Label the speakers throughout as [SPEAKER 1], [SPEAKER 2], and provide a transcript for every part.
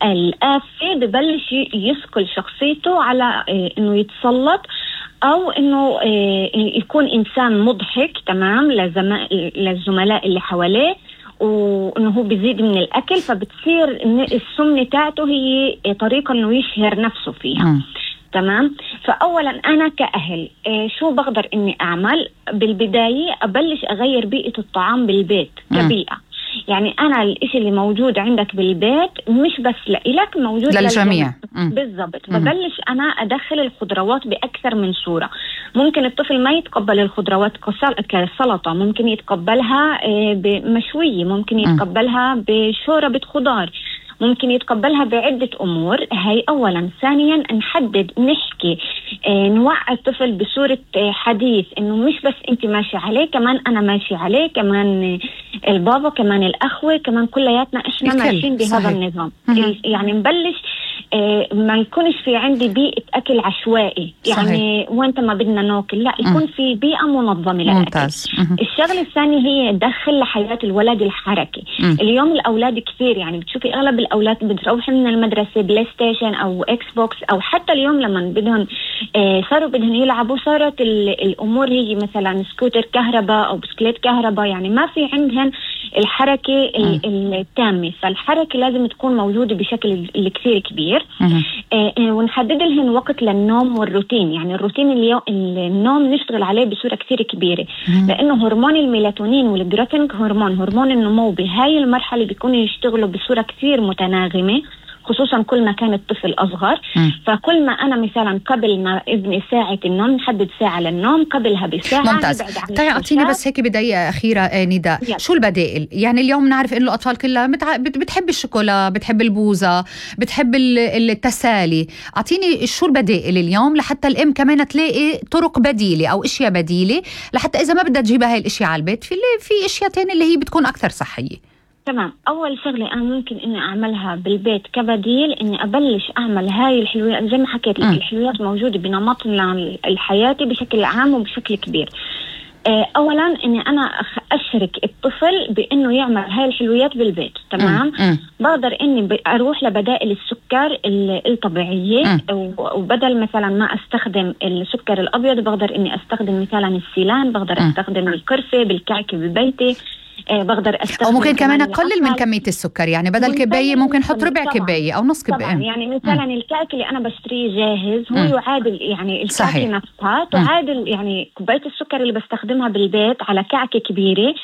[SPEAKER 1] الآفة ببلش يسكل شخصيته على إنه يتسلط أو إنه يكون إنسان مضحك تمام للزملاء اللي حواليه، وإنه هو بيزيد من الأكل، فبتصير السمنة تاعته هي طريقة إنه يشهر نفسه فيها. تمام. فأولا أنا كأهل شو بقدر إني أعمل؟ بالبداية أبلش أغير بيئة الطعام بالبيت كبيئة. يعني أنا الإشي اللي موجود عندك بالبيت مش بس لإلك، موجود
[SPEAKER 2] للجميع.
[SPEAKER 1] بالضبط. ببلش أنا أدخل الخضروات بأكثر من صورة. ممكن الطفل ما يتقبل الخضروات كسلطة، ممكن يتقبلها مشوية، ممكن يتقبلها بشوربة خضار، ممكن يتقبلها بعدة أمور. هاي أولا. ثانيا نحدد، نحكي، نوعي الطفل بصورة حديث إنه مش بس أنت ماشي عليه، كمان أنا ماشي عليه، كمان البابا، كمان الأخوة، كمان كلياتنا إحنا ماشيين بهذا النظام. يعني نبلش ما يكونش في عندي بيئة أكل عشوائي. يعني وانت ما بدنا ناكل، لا، يكون في بيئة منظمة للأكل.
[SPEAKER 2] ممتاز.
[SPEAKER 1] الشغلة الثانية هي دخل لحياة الولد الحركة. اليوم الأولاد كثير، يعني بتشوفي أغلب الأولاد بتروح من المدرسة بلاي ستيشن أو إكس بوكس، أو حتى اليوم لما بدهم صاروا بدهم يلعبوا، صارت الأمور هي مثلا سكوتر كهرباء أو بسكليت كهرباء، يعني ما في عندهم الحركة التامة. فالحركة لازم تكون موجودة بشكل كثير كبير. ونحدد لهم وقت للنوم والروتين. يعني الروتين النوم نشتغل عليه بصورة كثير كبيرة، لأنه هرمون الميلاتونين والجروتينج هرمون النمو بهاي المرحلة بيكونوا يشتغلوا بصورة كثير متناغمة، خصوصا كل ما كان الطفل أصغر. فكل ما أنا مثلا قبل ما ابني ساعة النوم نحدد ساعة للنوم، قبلها بساعة.
[SPEAKER 2] ممتاز. طيب أعطيني بس هيك بداية أخيرة نداء، شو البدائل؟ يعني اليوم نعرف إنه الأطفال كلها بتحب الشوكولا، بتحب البوزة، بتحب التسالي. أعطيني شو البدائل اليوم لحتى الأم كمان تلاقي طرق بديلة أو أشياء بديلة، لحتى إذا ما بدها تجيبها هاي الأشياء على البيت في أشياء تانية اللي هي بتكون أكثر صحية.
[SPEAKER 1] تمام. أول شغلة أنا ممكن إني أعملها بالبيت كبديل، إني أبلش أعمل هاي الحلويات زي ما حكيت لك. الحلويات موجودة بنمطنا الحياتي بشكل عام وبشكل كبير. أولا إني أنا أشرك الطفل بإنه يعمل هاي الحلويات بالبيت. تمام. بقدر إني أروح لبدائل السكر الطبيعية، وبدل مثلا ما أستخدم السكر الأبيض بقدر إني أستخدم مثلا السيلان، بقدر أستخدم القرفة بالكعكة ببيتي، بقدر أستخدم،
[SPEAKER 2] أو ممكن كمان أقلل من كمية السكر. يعني بدل كباية ممكن حط ربع كباية أو نص كباية.
[SPEAKER 1] يعني مثلا الكعك اللي أنا بشتريه جاهز هو يعادل، يعني الكعكة نفسها تعادل يعني كوباية السكر اللي بستخدمها بالبيت على كعكة كبيرة.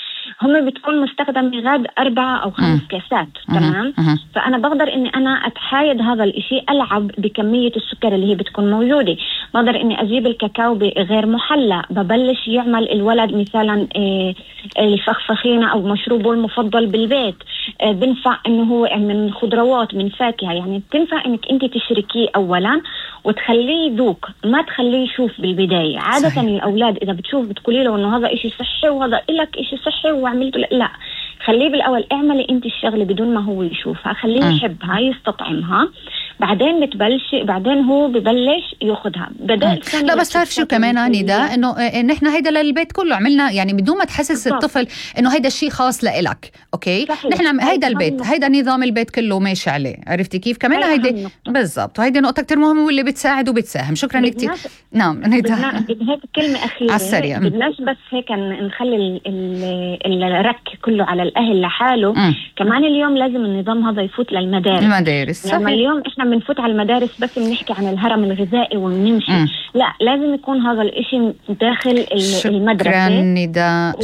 [SPEAKER 1] هم بتكون مستخدم غاد 4 أو 5 كاسات. تمام. فأنا بقدر إني أنا أتحايد هذا الإشي، ألعب بكمية السكر اللي هي بتكون موجودة. بقدر إني أجيب الكاكاو غير محلى، ببلش يعمل الولد مثلا الفخفخينة أو مشروبه المفضل بالبيت. بنفع إنه هو من خضروات، من فاكهة، يعني بتنفع إنك أنت تشركيه أولا وتخليه يذوق، ما تخليه يشوف بالبداية. عادة صحيح. الأولاد إذا بتشوف بتقولي له إنه هذا إشي صحي وهذا إلك إشي صحي وعملته، لا، خليه بالأول اعملي أنت الشغلة بدون ما هو يشوفها، خليه يحبها يستطعمها، بعدين بعدين هو ببلش ياخدها.
[SPEAKER 2] لا بس تعرف شو كمان نداء، إنه نحن هيدا للبيت كله عملنا، يعني بدون ما تحسس الطفل إنه هيدا الشيء خاص لإلك. أوكي صحيح. نحن هيدا البيت، هيدا نظام البيت كله ماشي عليه. عرفتي كيف كمان؟ هيدا بالضبط، وهيدي نقطة كتير مهمة واللي بتساعد وبتساهم. شكرا كتير. نعم نداء،
[SPEAKER 1] هيك كلمة أخيرة على السريع. بدناش بس هيك نخلي الرك كله على الأهل لحاله. كمان اليوم لازم النظام هذا يفوت للمدارس.
[SPEAKER 2] يعني
[SPEAKER 1] اليوم إحنا بنفوت على المدارس بس بنحكي عن الهرم الغذائي وبنمشي. لا، لازم يكون هذا الإشي داخل المدرسة.
[SPEAKER 2] شكرا نداء.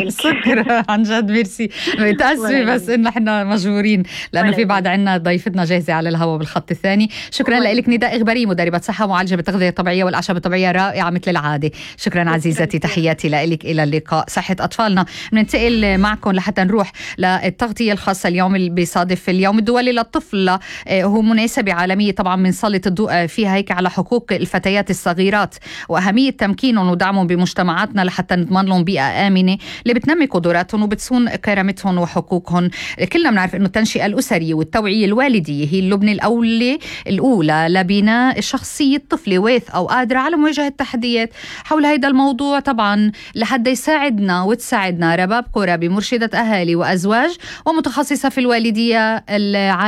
[SPEAKER 2] شكرا عن جد، ميرسي. متأسفة بس إن إحنا مجبورين لأنه في بعد عنا ضيفتنا جاهزة على الهواء بالخط الثاني. شكرا لك نداء إغباري، مدربة صحة ومعالجة بالتغذية الطبيعية والأعشاب الطبيعية، رائعة مثل العادة. شكرا عزيزتي، تحياتي لك. إلى اللقاء. صحة أطفالنا. بننتقل معكم لحتى نروح للتغطية الخاصة اليوم اللي بيصادف اليوم الدولي للطفل هو مناسبة عالمية طبعا بنسلط الضوء فيها هيك على حقوق الفتيات الصغيرات وأهمية تمكينهم ودعمهم بمجتمعاتنا لحتى نضمن لهم بيئة آمنة اللي بتنمي قدراتهم وبتصون كرامتهم وحقوقهم. كلنا بنعرف إنه التنشئة الأسرية والتوعية الوالدية هي اللبنة الأولى لبناء شخصية طفلة واثقة وقادرة على مواجهة التحديات. حول هذا الموضوع طبعا لحد يساعدنا وتساعدنا رباب قرابي مرشدة أهالي وأزواج ومتخصصة في الوالدية العائلية